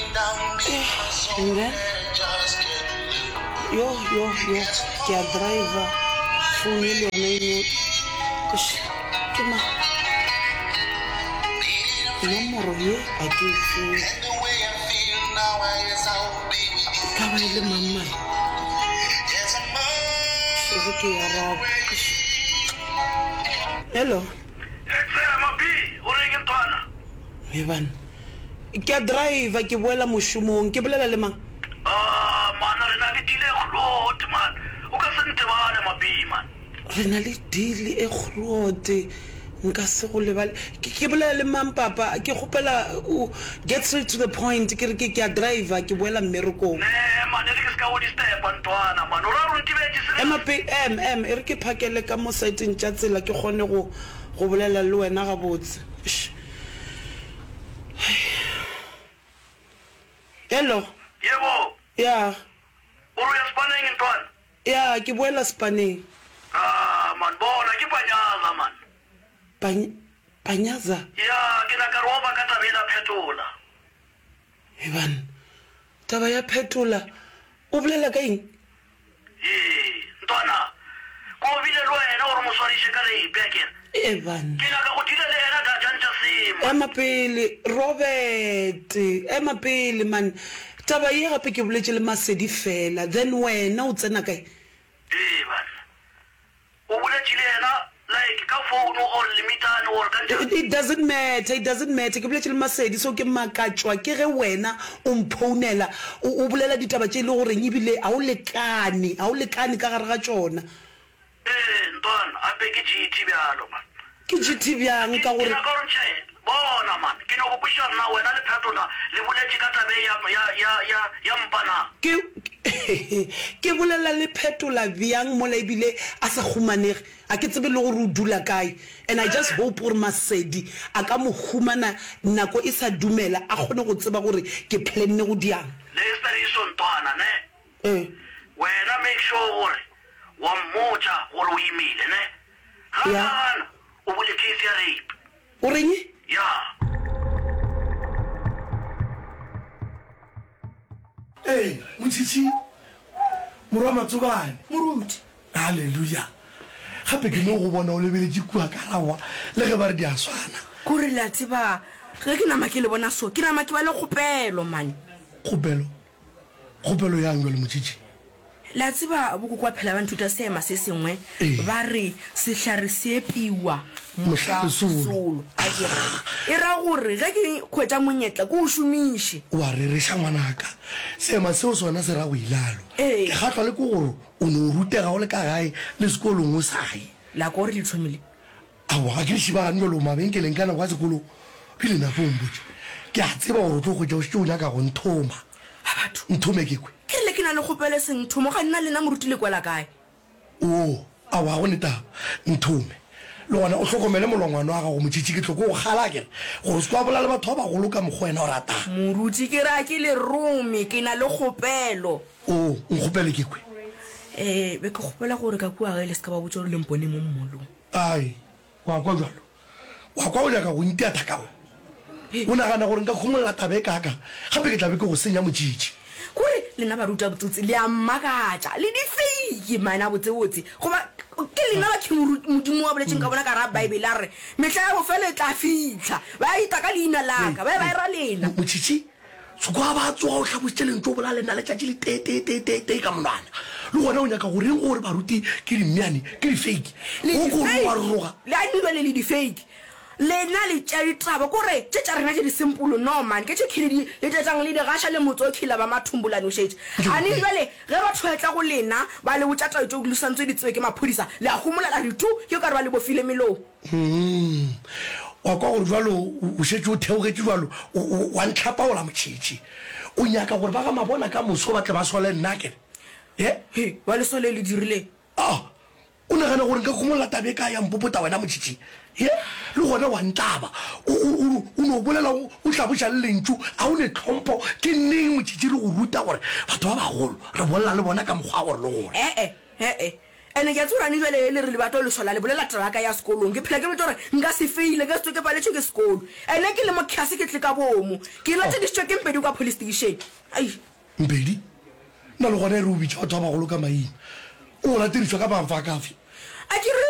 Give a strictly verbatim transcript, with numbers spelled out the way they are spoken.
And then yo yo yo ke a driver phone le yone e no Eish, ke ma nomoro ye a ke e tsebe e ka ba e le mang mare e re ke e arabe Eish. Hello. He banna, ke a driver ke boela mošomong, ke bolela le mang? Ah man, re na le deal e groot man, o ka se ntebale Mabi man. Re na le deal e groot, nka se go lebale. Ke, ke bolela le mang papa? Ke kgopela o get straight to the point, ke re ke, ke a driver ke boela mmerekong. Nee man, e re ke se ka go disturba ntwana man, o ra gore o ntebetše serious? Ema pe, em, em, e re ke phakele ka mo saeteng tša tsela ke kgone go, go bolela le wena gabotse. Eish. Hello. Yebo. Ya. O re o ya sepaneng ntwana? Ya, ke boela sepaneng. Ah, man, bona, ke Panyaza, man. Pany-, Panyaza? Ya, ke nyaka re oba ka taba yela Phetola. He banna, taba ya Phetola, o bolela ka eng? Hee, ntwana, ko bile le wena gore o mo swariše ka rape, akere? Ee, banna. Ke nyaka go deala le yena dajang tša sema. Ema pele, Robert, ema pele, man. Taba ye gape ke boletše le Masedi fela, then wena o tsena kae? Ee, banna. O boletše le yena like ka phone or le meetane or ka njang? It doesn't matter, it doesn't matter. Ke boletše le Masedi, so ke makatšwa ke ge wena o mphounela o, o bolela ditaba tše e le goreng ebile ga o lekane, ga o lekane ka gare ga tšona. Ee, ntwana, ape ke G T bjalo, man. Ke G T bjang Ke, ka ke gore. nyaka gore ntšhe, bona, man, ke nyoko kwešiša gore na wena le Phetola le boletše ka taba ye ya, ya, ya, ya, ya mpa na? Ke, ke bolela le Phetola bjang mola ebile a sa humanege? A ke tsebe le gore o dula kae. And I just hope gore Masedi a ka mo humana nako e sa dumela, a kgone go tseba gore ke planne go diang. Le Stheriso ntwana, ne? Ee. Wena make sure gore wa mmotša gore o imile, ne? Ga a Ya. ka gana, o bule case ya rape. O reng? Ya. Ee, Motšhitšhi, morwa Matsobane. Moruti. Haleluya! Gape ke no go bona o lebeletše kua ka rawa, le ge ba re di a swana. Kore le a tseba, ge ke nama ke le bona so, ke nama ke ba le kgopelo, man. Kgopelo? Kgopelo yang bjale, Motšhitšhi? Le a tseba, bokoko ba phela ba nthuta seema se sengwe, Ee. ba re, Sehlare se epiwa Mohla mohla lesolo. solo. A ke re, e ra gore ge ke hwetša monyetla ke o šomiše. O a rereša, ngwanaka. Seema seo sona se ra go ilalo. Ee. Ke kgahlwa le ke gore o no rutega o le ka gae le sekolong o sa ye. La kwa gore le thomile? Aowa, ga ke le šibagane bjalo mabenkeleng ka nako ya sekolo. Bjale nako o mpotše. Ke a tseba gore o tlo hwetša o šetše o nyaka go nthoma. A batho. Nthome ke kwe. Ke rile ke na le kgopelo e seng thomo, ga nna lena moruti le kwela kae? Oo, aowa, ga go ne taba. Nthome. Le gona o hlokomele molongwana wa gago, Motšhitšhi, ke tlo ko go kgala akere, gore o se ke wa bolela le batho ba bagolo ka mokgwa wena o ratang. Moruti, ke re a ke le rome, ke na le kgopelo. Oo, nkgopele ke kwe. Ee, be ke kgopela gore ka kua gae le se ka ba botša gore le mpone mo mmolong. Ai, wa kwa bjalo? Wa kwa o nyaka go ntia thaka go? O nagana gore nka khumolla taba e kaakang? Gape ke tla be ke go senya, Motšhitšhi. Kore lena baruti ba botsotsi le a mmakatša. Le difeiki, man, a botsebotse. Goba ke lena ba King Modimo a boletšeng ka bona ka gare ga Bible, a re, Mehla ya bofelo e tla fihla, ba eta ka leina la ka, ba be ba era lena. Motšhitšhi, Soko a ba tsoga o hlabošitše lentšu o bola le nna letšatši le tee, tee, tee, tee, tee ka monwana. Le gona o nyaka go reng gore baruti ke dimmeane, ke difeiki? Le Go ko difeiki. rogaroga. Le a dirwa le le difeiki. Lena le tšea ditaba kore tše tša rena tše di simple no man ke tše khile di le tletšang le di gaša le motse o khila ba mathumbolane o šetše a ne bjale ge batho ba etla go lena ba le botša taba tšeo le swantse di tsebe ke maphodisa le a homola la re tu ke o ka re ba le bofile melomo. Humm wa kwa gore bjalo o šetše o theogetše bjalo o wa ntlhapaola Motšhitšhi o nyaka gore ba ga Mabona ka moso ba tle ba sole nna akere he? He ba le sole le dirileng? Ah O nagana gore nka khumolla taba e kae ya mpopota wena Motšhitšhi? He, le gona wa ntlaba. O, o, o, o no bolela o, o hlaboša le lentšu, a o ne tlhompho. Ke neng Motšhitšhi re go ruta gore batho ba bagolo re bolela le bona ka mokgwa wa gore le gore? E-e, e-e, Ene ke a tseba gore ane jwale le re le batla go le sola, le bolela taba ya ka ya sekolong. Ke phela ke botša gore nka se feile, ke se tsoge ke paletšwe ke sekolo. Ene ke le mo khase ke tle ka boomo. Ke latedišitšwe ke Mpedi kwa police station. Ai. Mpedi? Na le gona e re o bitša batho ba bagolo ka maina? O latedišwa ka mang fa kafe? A ke re